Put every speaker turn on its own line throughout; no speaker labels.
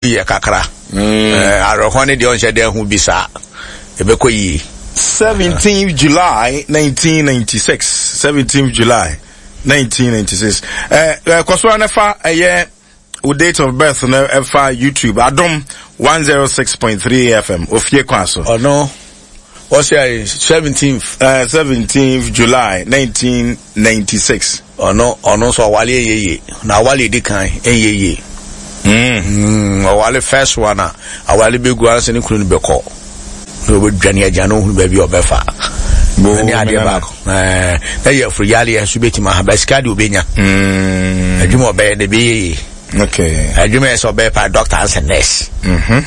Yɛ kakra. Mm. Awerɛhoɔ ne deɛ ɔnhyɛ dɛ ho bi saa. Ɛbɛkɔ yie.
17th July 1996. 17th July 1996. Eh, eh, kɔ so ara na fa ɛyɛ wo date of birth no ɛfa YouTube Adom 106.3 FM ofie kwan so.
Ɔno wɔsɛ 17th.
17th July 1996.
Ɔno ɔno nso ɔwale ɛnyɛ yie na awale edi kan ɛnyɛ yie mm ɔwale first one a awale bɛ gu ansa ne kunu no bɛ kɔ na ɔbɛ dwane agya na ohunu baabi a ɔbɛfa ɛne adeɛ baako ɛɛ na yɛ afuru yareɛ nso bɛtumi aha bɛ sika deɛ ɔbɛnya adwuma ɔbɛyɛ de bɛyɛ yie.
Okay.
Adwuma yɛ sɛ ɔbɛyɛ pa doctor ansa nurse.
Mhm.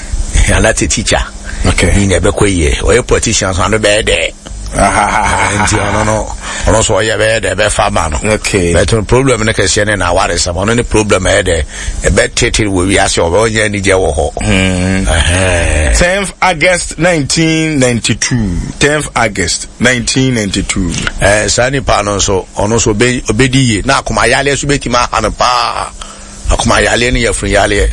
Anaasɛ teacher.
Okay.
Ne nyinaa ɛbɛkɔ yie. Ɔyɛ politician so ano bɛyɛ dɛ. Nti ɔno no ɔno nso ɔyɛ bɛyɛ dɛ ɛbɛfa ma no.
Okay.
But no problem no kɛseɛ ne n'awaresɛm ɔno ne problem ɛyɛ dɛ ɛbɛtete wɔ wiase ɔbɛ ɔnyɛ anigye wɔ hɔ.
Mm. 10th August 1992. 10th August 1992.
Ɛɛ saa nipa no nso ɔno nso ɔbɛdi yie na akoma yareɛ nso bɛtumi aha no paa. Akoma yareɛ ne yafunu yareɛ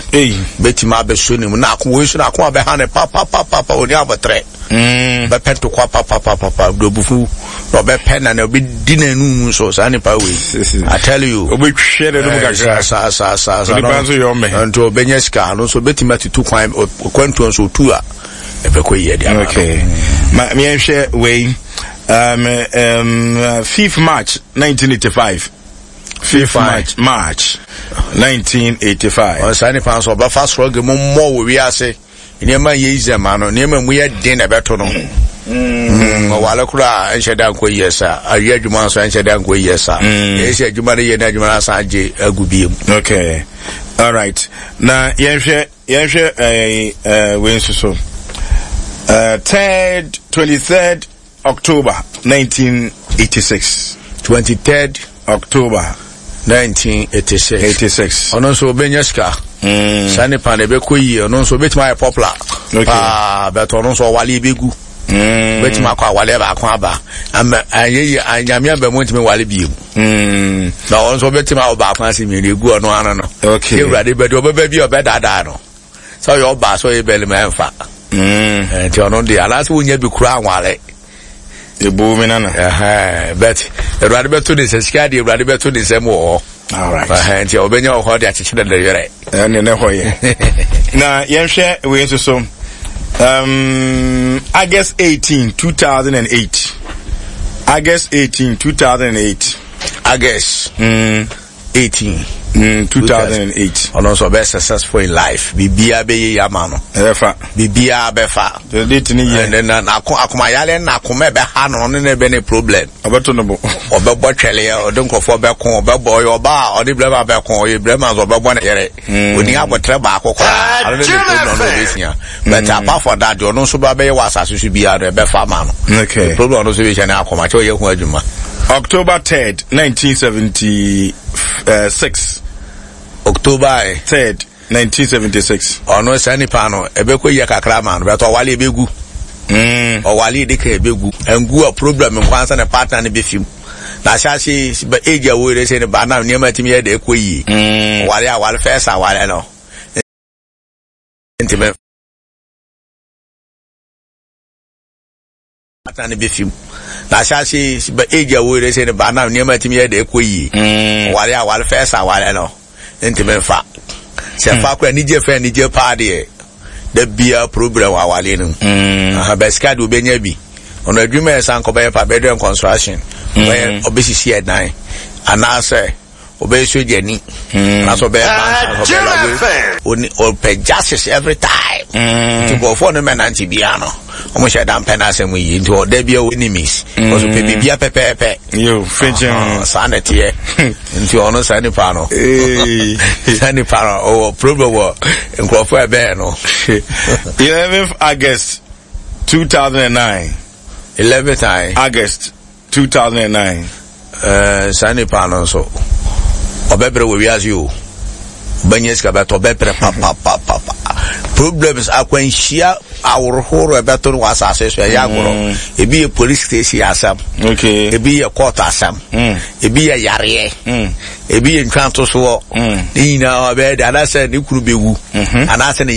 bɛtumi abɛso ne mu na akoma wei nso na akoma bɛha no papapapapa ɔni abɔtrɛ mm. bɛpɛ ntokwa papapapapa dobufu na ɔbɛpɛ na na ɔbɛdi n'anum mu nso saa nipa wei I tell you
ɔbɛtwɛ n'anum eh, kakra
saa saa saa saa
nipa nso yɛ ɔmɛ
nti ɔbɛnya sika no nso ɔbɛtumi atutu kwan kwantuo nso ɔtu a ɛbɛkɔ yie de ama no
okay ma yɛnhwɛ wei um, um, 5th March 1985 5th March March 1985.
Ɔsaa nipa nso ɔbɛfa soro ge mu mmɔ wɔ wiase nneɛma yɛ easy ma no nneɛma mu yɛ den na ɛbɛto no. Mm. Ɔwale koraa ɛnhyɛ da nkɔ yie sa awie adwuma nso ɛnhyɛ da nkɔ yie sa. Ɛyɛ sɛ adwuma no yɛ na adwuma no asan agye agu biem.
Okay, all right. Na yɛnhwɛ yɛnhwɛ ɛɛ ɛɛ wei nso so. Third, 23rd October 1986.
23rd
October
1986.
86.
Ɔno nso ɔbɛnya sika. Mm. Saa nipa no ɛbɛkɔ yie ɔno nso ɔbɛtumi ayɛ popular.
Okay.
Paa bɛtɔ ɔno nso ɔwale ɛbɛgu.
Mm.
Bɛtumi akɔ awale baako aba. Ama anyɛ yie anyame aba mu ntumi wale bio.
Mm.
Na ɔno nso ɔbɛtumi awɔ baako ase mmienu egu ɔno ano no.
Okay.
Ewurade bɛde ɔbɛba bi a ɔbɛdaadaa no. Sɛ ɔyɛ ɔbaa sɛ ɔyɛ bɛlima ɛnfa.
Mm.
Nti ɔno deɛ anaasɛ wonya bi kura anwale.
Ebu mi nana.
But Awurade bɛto ne nsa sika deɛ Awurade bɛto ne nsam wɔ hɔ.
All right.
Nti ɔbɛnya wɔ hɔ de akyekyere ne werɛ.
Ɛne ne hɔ yɛ. Na yɛnhwɛ wei nso so. August 18, 2008. August 18, 2008.
August. 18.
2008.
Ɔno nso ɔbɛyɛ successful in life. Biribiara bɛyɛ yie ama no.
Ɛbɛfa.
Biribiara bɛfa.
The date ni yɛ.
Ɛnna na n'ako akomayale na akoma ɛbɛha no ɔno na ɛbɛ ne problem.
Ɔbɛto no bo.
Ɔbɛbɔ twɛleɛ ɔde nkurɔfoɔ bɛko ɔbɛbɔ ɔyɛ ɔbaa a ɔde brɛma bɛko ɔyɛ brɛma nso ɔbɛbɔ ne yere. Oni abɔtrɛ baako koraa ɔno ne problem no ɔbɛsia. But apart from that deɛ ɔno nso ba bɛyɛ wɔ asase so biara no ɛbɛfa ma no.
Okay.
The problem ɔno nso bɛhyia ne akoma kyɛ ɔyɛ ho adwuma.
October 3rd, 1976.
October
3rd, 1976.
Ɔno saa nipa no ɛbɛkɔ yie kakra ma no bɛtɔ ɔwale ɛbɛgu. Ɔwale ɛdi kan ɛbɛgu. Ɛngu a problem nko ansa ne partner no bɛfi mu. Na ahyɛ ase age a wɔyɛ sɛ ne ba na nneɛma tumi yɛ de ɛkɔ yie. Ɔwale awale first awale no. Ntumi partner no bɛfi mu. Na ahyɛ ase age a wɔyɛ sɛ ne ba na nneɛma tumi yɛ de ɛkɔ yie. Ɔwale awale first awale no. Ntumi nfa. Sɛ fa kora anigye fɛ anigye paa deɛ da bia problem wɔ awadeɛ no mu. Aha, bɛ sika deɛ obɛnya bi. Ɔno adwuma yɛ san kɔbɛyɛ pa bɛdɛ construction. Ɔbɛyɛ ɔbɛsisi ɛdan anaasɛ ɔbɛyɛ sogyani anaasɛ ɔbɛyɛ bank anaasɛ ɔbɛyɛ lawyer. Ɔpɛ justice every time. Nti nkurɔfoɔ no mɛnante biara no wɔn hyɛ da mpɛ n'asɛm yie nti ɔda bi a enemies. Ɔso pɛ biribi pɛpɛɛpɛ.
Yo, fɛnkyɛn.
Saa na ɛteɛ. Nti ɔno saa nipa no. Saa nipa no ɔwɔ problem wɔ nkurɔfoɔ ɛbɛn no.
11th August 2009.
11th
August 2009.
Ɛɛ saa nipa no nso ɔbɛbrɛ wɔ wiase o. Ɔbɛnyɛ sika bɛtɔ ɔbɛbrɛ papapapapa. Problems akwanhyia. Aworɔhorow a ɛbɛto no wɔ asase so ɛyɛ agorɔ. Ebi yɛ police station asɛm.
Okay.
Ebi yɛ court asɛm. Ebi yɛ yareɛ. Ebi yɛ ntwantosoɔ. Ne nyinaa ɔbɛyɛ de anaasɛ ne kunu bɛwu. Anaasɛ ne.